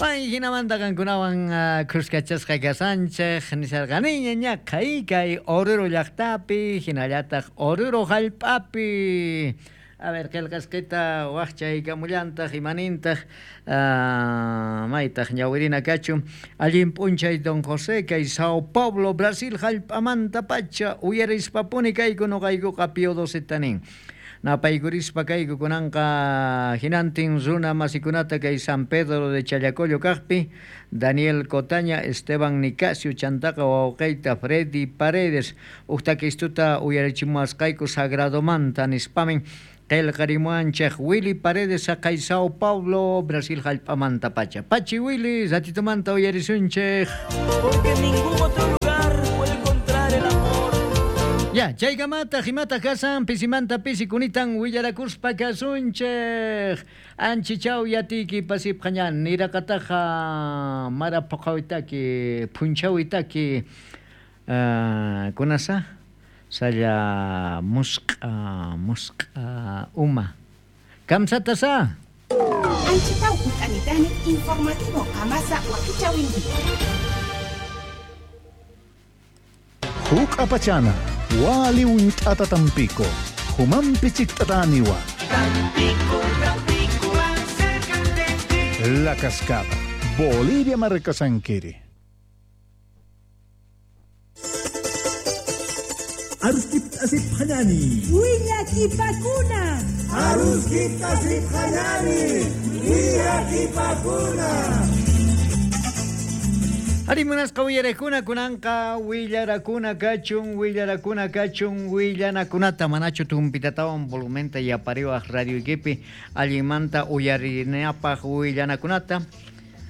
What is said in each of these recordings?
Pay hinamanta qankunawan khuskachasqa kashanchej nisharqaniña ñaqha kay Oruro llaqtapi hinallataq Oruro hallp'api. A ver, qillqasqita waqchaykamullantaq imanintaq maytaq ñawirina kachun allin p'unchay don José kay Sao Paulo Brasil hallp'amantapacha uyarispapuni kayku nuqaykuqa Pío XII nin. Napaykurispa kayku kunanqa hinantin runa masikunata kay San Pedro de Challacollo kaqpi Daniel Cotaña, Esteban Nicasio chantaqa wawqiyta Freddy Paredes uqtakistuta uyarichimuwasqayku sagradomanta nispamin qillqarimuwanchik Willy Paredes saqay Sao Paulo Brasil hallp'amantapacha. Pachi Willy, ratitumanta uyarisunchik. Porque en ningún otro lugar puedo encontrar el amor. Ya, chaykamataq imataq kasan pisimanta pisi kunitan willarakuspa kasunchik. Anchichaw yatiyki pasipqañan niraqataqa mara puqawitaki punchawitaki kunasa salla musq'a musq'a uma. Kamsatasa. Anchitaw kut'anitani informativo qamasa wakichawinki. Huk apachana, wali unt'ata Tampico, humampi chikt'ataniwa. Tampico, Tampico, acércate. La Cascada, Bolivia Marcasanquiri. Aruskip asip hanani. Willakipakuna. Aruskip asip hanani. Willakipakuna. Arimunasqa willarakuna kunanqa willarakuna kachun willarakuna kachun willanakunata manachu tumpitatawan volumenta yapariwaq radioykipi allinmanta uyarinapaq willanakunata.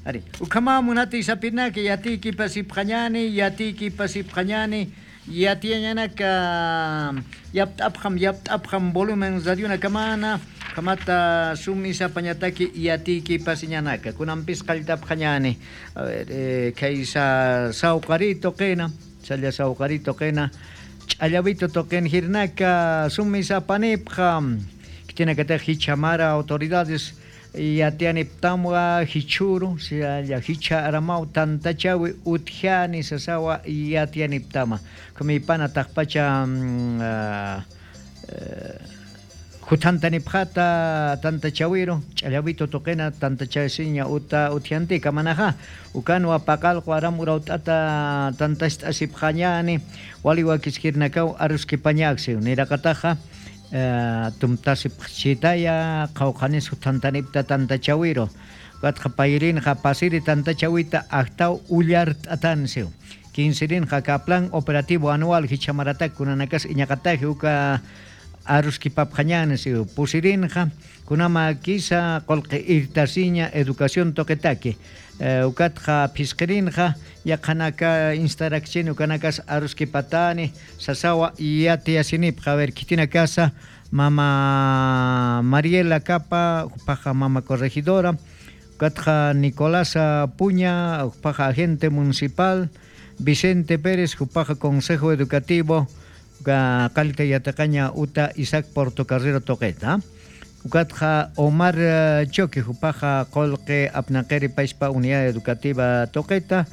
Ari, ukama munati sapinaki yatiki pasipqañani yatiki pasipqañani yatiañanaka yapt'apqam yapt'apqam volumen radiona kamana kamata sumisa pañataki yatiki pasiñanaka kunanpis qalltapqañani. A ver, kaysa sawqarito qina challa sawqarito qina ch'allawito toqin hirnaka sumisa panipqa kitinakataq hichamara autoridades yatianiptamwa hichuru salla hicha aramau tantachawi utjani sasawa yatianiptama kumipana taqpacha hutantanipjata tantachawiro ch'allawito toqena tantachasiña uta utjantika manaja ukanwa paqalqu aramuraut'ata tantast'asipqañani waliwakiskirnakaw aruskipañaksiw niraqataqa tumtasipqchitaya qawqanis hutantanipta tantachawiro katqa payrinqa pasiri tantachawita aqtaw ullart'atansiw quincerinqa ka plan operativo anual hichamaratak kunanakas iñaqataji uka aruskipapqañansiw pusirinqa kunama kisa qolqi irtasiña educación toqetaki ukatqa phisqirinqa yaqhanaka instarakchini ukanakas aruskipatani sasawa yatiyasinipqa. A ver, kitina casa mama Mariela Capa paja mama corregidora ukatqa Nicolás Puña paja agente municipal Vicente Pérez paja consejo educativo qalta yataqaña uta Isaac Portocarrero toqeta ukatqa Omar Choque jupaja qolqe apnaqeri paispa unidad educativa toqeta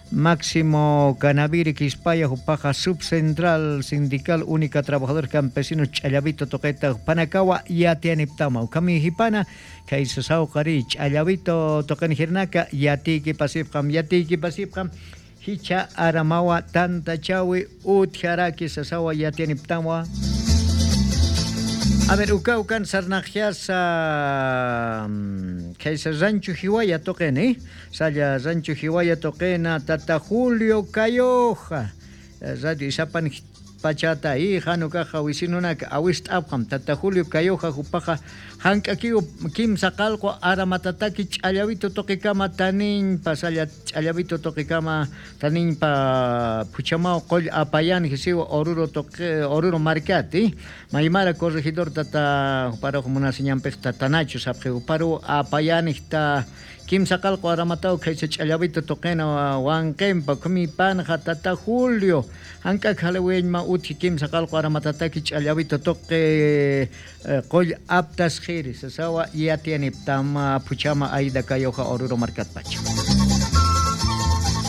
Máximo Canaviri Quispaya jupaja subcentral sindical única trabajador campesino Ch'allavito toqeta Panakawa yatianiptama ukami hipana kay sasawqari Ch'allavito toqen hirnaka yatiki pasipqam yatiki pasipqam hicha aramawa tantachawi utjaraki sasawa yatianiptama. A ver, uka ukan sarnajiasa kaysa rancho Jiwaya toqena, salla rancho Jiwaya toqena tata Julio Cayoja radio Isapan pachata y hanukaja wisinunaka awist'apqam tata Julio Cayoja jupaja hank'akiw kimsa qalqu aramatataki ch'allawito toqikama taninpa salla ch'allawito toqikama taninpa phuchamaw qoll apayan jisiwa Oruro toqe Oruro markati maymara corregidor tata paruq munasiñanpiq tatanachu sapqi paru apayanijta kimsa qalqu aramataw kaysa ch'allawito toqena wanqinpa kumipanja tata Julio hank'ak halawiñma uthi kimsa qalqu aramatataki ch'allawito toqe qoll aptas jiri sasawa yatianiptama phuchama Aida Cayoja Oruro markatpacha.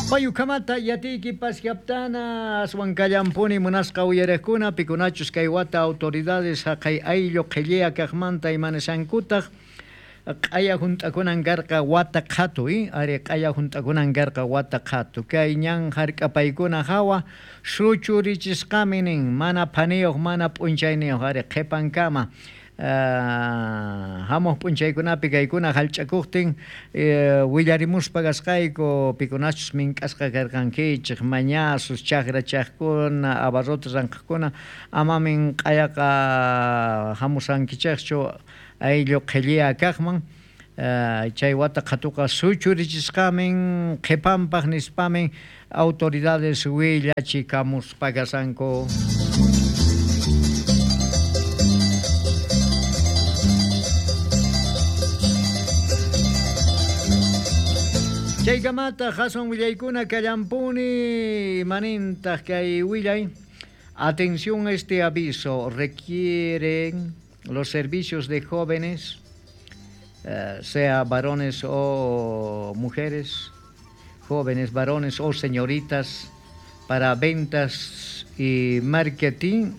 Payukamata yatiykipas yaptana aswan kallampuni munasqa uyariqkuna pikunachus kay wata autoridades haqay ayllu qhilliya kaqmanta imanishankutaq q'aya hunt'akunan karqa wata qhatu ari q'aya hunt'akunan karqa wata qhatu kay ñan hark'apaykuna hawa suchurichisqami nin mana phaniyuq mana p'unchayniyuq ari qhipankama hamuq p'unchaykunapi kaykuna hallch'akuqtin willarimuspa kasqayku pikunachus mink'asqa karqankichik mañasus chakrachaqkuna abarrotes ranqhaqkuna amamin q'ayaqa hamusankichikchu ayllu qhilliya kaqman chay wata qhatuqa suchurichisqamin qhipanpaq nispamin autoridades willachikamuspa kasanku. Chaykamata hasan willaykuna kallampuni imanintaq kay willay. Atención a este aviso, requieren los servicios de jóvenes, sea varones o mujeres, jóvenes, varones o señoritas, para ventas y marketing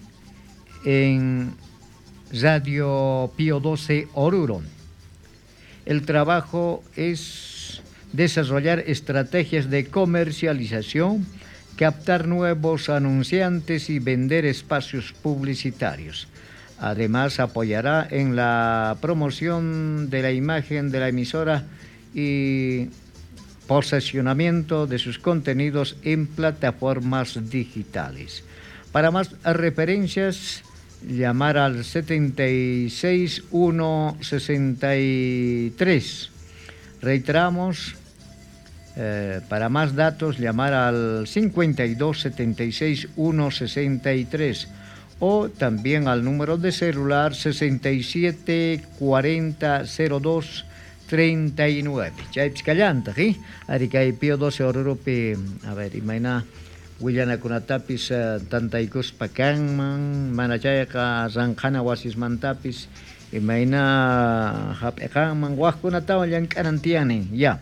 en Radio Pío XII Oruro. El trabajo es desarrollar estrategias de comercialización, captar nuevos anunciantes y vender espacios publicitarios. Además, apoyará en la promoción de la imagen de la emisora y posicionamiento de sus contenidos en plataformas digitales. Para más referencias, llamar al 76 163. Reiteramos, para más datos, llamar al 52 76 163 o también al número de celular 67 40 02 39. Chaypis kallantaq, ari kay Pío XII Oruropi, a ver, imayna willanakunatapis tantaykuspa kanman, mana chayqa ranqhana wasismantapis imayna hap'iqanman waqkunatawan llank'anan tiyanin, ya.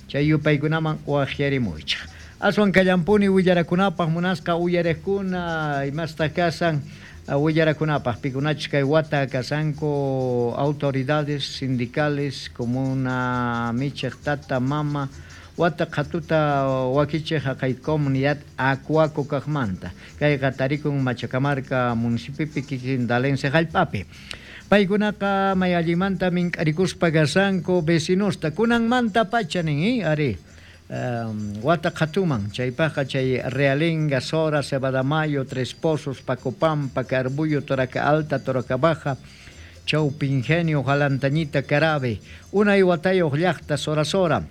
Chay yupaykunaman waqyarimuychik. Aswan kallampuni willarakunapaq munasqa uyariqkuna imasta kasan willarakunapaq pikunachus kay wata kasanku autoridades sindicales comuna michiq tata mama wata qhatuta wakichiq haqay comunidad Acuaco kaqmanta kayqa tarikun Machacamarca municipiopi kikin Dalense hallp'api. Paykunaqa may allimanta mink'arikuspa kasanku vecinosta kunanmanta pacha nin ari wata qhatuman chaypaqqa chay Realenga, Sora, Cebadamayo, Tres Pozos, Pacopampa, Carbullo, Toraca Alta, Toraca Baja, Chaupi Ingenio, Jalantañita, Carabe, unay watayuq llaqta Sora Sora,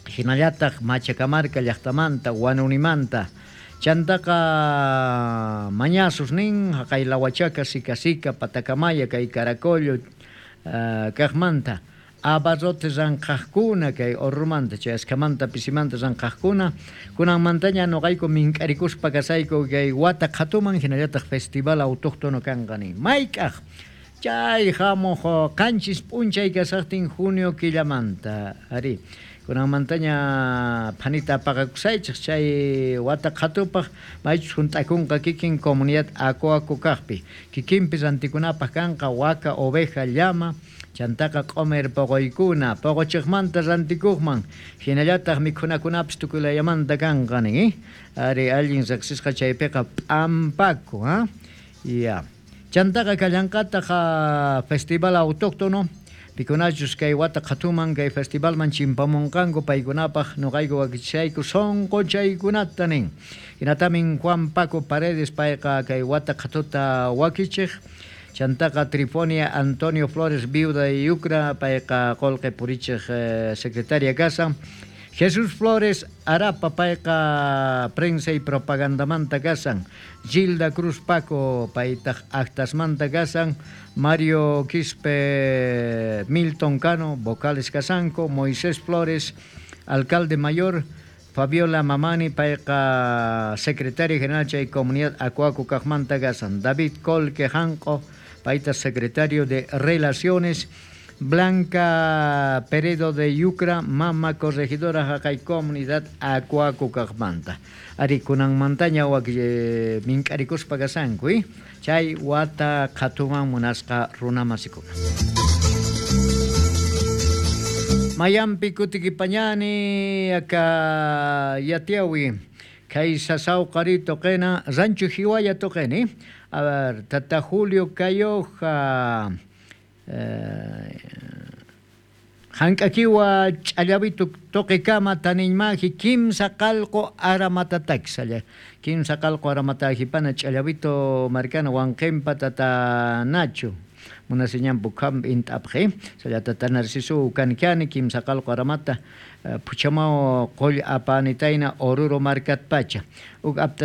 hinallataq Machacamarca llaqtamanta, Huanunimanta, chantaqa Mañasus nin, haqay Lahuachaca, Sica Sica, Patacamaya, kay Caracollo, kaqmanta, abarrotes ranqhaqkuna kay Orrumanta, chay askamanta pisimanta ranqhaqkuna, kunanmantaña nuqayku mink'arikuspa kasayku kay wata qhatuman hinallataq festival autóctono kanqa nin. Mayk'aq chay hamuq qanchis p'unchay kasaqtin junio killamanta, ari kunanmantaña phanita apaqakusaychik chay wata qhatupaq maychus hunt'akunqa kikin comunidad Acuaco kaqpi kikinpi rantikunapaq kanqa waka, oveja, llama, chantaqa q'umir poqoykuna poqochiqmanta rantikuqman hinallataq mikhunakunapis tukuylayamanta kanqa nin, ari allin riqsisqa chaypiqa p'ampaku, ya. Chantaqa kallanqataq festival autóctono pikunachus kay wata qhatuman kay festivalman chimpamunqanku paykunapaq nuqayku wakichayku sunquchaykunata nin. Hinatamin Juan Paco Paredes payqa kay wata qhatuta wakichiq. Chantaqa Trifonia Antonio Flores viuda de Yucra payqa qullqi purichiq secretaria kasan. Jesús Flores Arapa payqa prensa y propagandamanta kasan. Gilda Cruz Paco paytaq actasmanta kasan. Mario Quispe Milton Cano vocales kasanku. Moisés Flores alcalde mayor. Fabiola Mamani payqa secretaria general chay comunidad Acuaco kaqmanta kasan. David Colque Janco payta secretario de Relaciones. Blanca Peredo de Yucra, mama corregidora jaqay comunidad Acuaco kaqmanta. Ari kunanmantaña wak mink'arikuspa kasanku, chay wata qhatuman munasqa runamasikuna. Mayampi kutikipañani aka yatiawi kay sasawqari toqena Rancho Jiwaya toqeni. A ver, Tata Julio Cayoja Hank'akiwa ch'allavitu toqekama taniñmaji kimsa qalqu aramatatak kimsa qalqu aramatajipana ch'allavitu markana wanqinpa tata Nacho munasiñanpu kham int'apqi salla tata Narciso kankani kimsa qalqu aramata puchamao qoll apanitayna Oruro markatpacha uk apta.